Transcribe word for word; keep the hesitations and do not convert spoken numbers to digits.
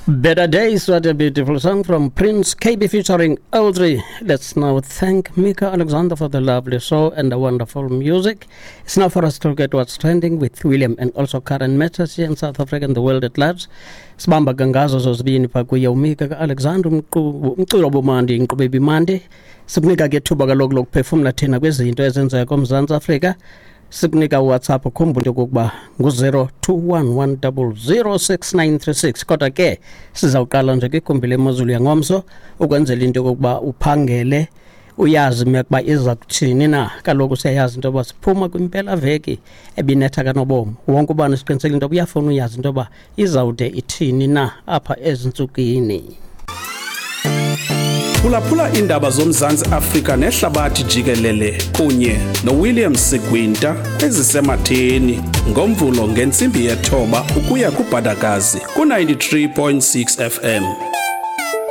Better Days, what a beautiful song from Prince Kaybee featuring Audrey. Let's now thank Mika Alexander for the lovely show and the wonderful music. It's now for us to get what's trending with William and also current matters here in South Africa and the world at large. Sibamba ke ngazo zozibini pha kuye uMika Alexander umculo obumandi inkqubo ebimandi. Sikunika ke ithuba kaloku lokuphefumla thina kwizinto ezenzeka koMzantsi Afrika. Sikunika uWhatsApp, ukhumbule okokuba ngu-zero two one one double zero six nine three six. Kodwa ke sizawuqala nje kwigumbi lemozulu yangomso ukwenzela into yokokuba uphangele uyazi imeko uba iza kuthini na. Kaloku siyayazi into yoba siphuma kwimpelaveki ebinetha kanobomi. Wonke ubani siqinisekile into yoba uyafuna uyazi into yoba izawude ithini na apha ezintsukini. Phulaphula iindaba zoMzantsi Afrika nehlabathi jikelele kunye noWilliam Sigwinta kwezisematheni ngoMvulo ngentsimbi yethoba ukuya kuBhadakazi ku-ninety-three point six F M.